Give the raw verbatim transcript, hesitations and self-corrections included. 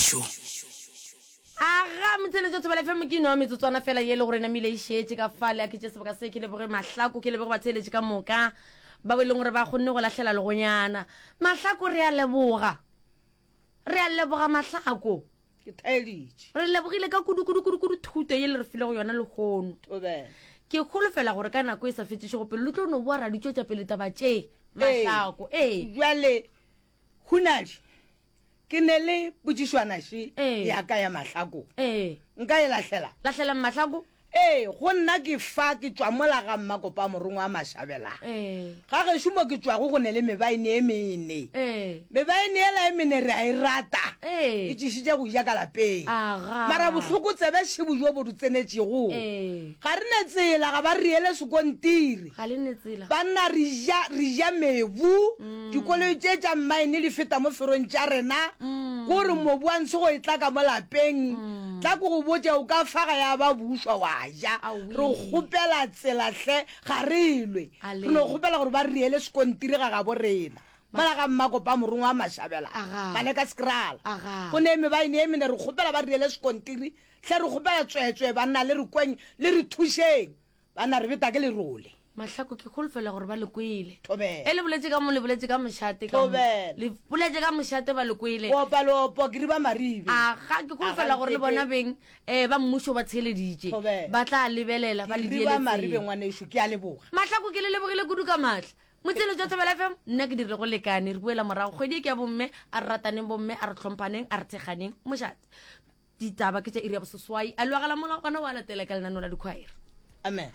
Tsebišo. Aga motheletšo Thobela F M ke no metsotswana fela ye le gore namile e šetše ka fale a ke tše sebaka se ke leboge Mahlako ke leboge batheeletši ka moka ba e leng gore ba kgonne go lahlela legonyana. Mahlako re a leboga. Re a leboga Mahlako. Ke thaeditše. Re lebogile ka kudu kudu kudu kudu thuto ye le re filego yona lehono. Thobela. Ke holofela gore ka nako e sa fetšišego pelo le tlo no boa ra di tšwetša pele taba tše. Mahlako. Ee. Bjale Hunadi, ke ne le potšišwana še Ee. ya ka ya Mahlako. Ee. Nka e lahlela? Lahlelang Mahlako. Ee, go nna ke fa ke tšwa mola ga Mmakopa morongwa wa Mašabela. Ee. Ga gešo mo ke tšwago go ne le mebaene e mene. Ee. Mebaene yela e mene re a e rata. Ee. E tšešitše go ja ka lapeng. Aga. Mara bohloko tsebe šebo jo bo di tsenetšego. Ee. Ga re ne tsela, ga ba re riele sekontiri. Ga le ne tsela. Banna re ja, re ja mebu. Dikoloi tše tša mmaene di feta mo ferong tša rena. Ko re mobu wa ntshe go e tla ka mo lapeng. Tla ke go botše, o ka fa ga ya ba bušwa wa ja. Aowi. Re kgopela tsela hle, ga re lwe. A Re no le. kgopela gore ba re riele sekontiri ga gabo rena. Mola ga Mmakopa morongwa wa Mašabela, Aga. ba leka sekrala. Aga. Go ne mebaene e mene, re kgopela ba re riele sekontiri. Hle re kgopela tsweetswee banna le re kweng, le re thušeng. Banna re beta ke lerole. Mahlako ke holofela gore ba le kwele. Thobela. E le boletše ka mo, le boletše ka mošate ka mo. Thobela. Le boletše ka mošate ba le kwele. Opa leopo ke riba maribe. Aga, ke holofela Aga, gore le ntete. bona beng, eh, ba mmušo ba theeleditše. Thobela. Ba tla lebelela, ba Ke le riba dieletseng. maribe ngwanešu, ke a leboga. Mahlako ke le lebogile kudu ka maatla. Motselo jwa Thobela F M, nna ke dirile go lekane. Re buela morago kgwedi e ke ya bomme, a re rataneng bomme, a re tlhomphaneng, a re thekganeng. Mošate. Ditaba ke tša iri ya boseswai. A loagela molao gona wa latela ka lenaneo la dikhwaere. Amen.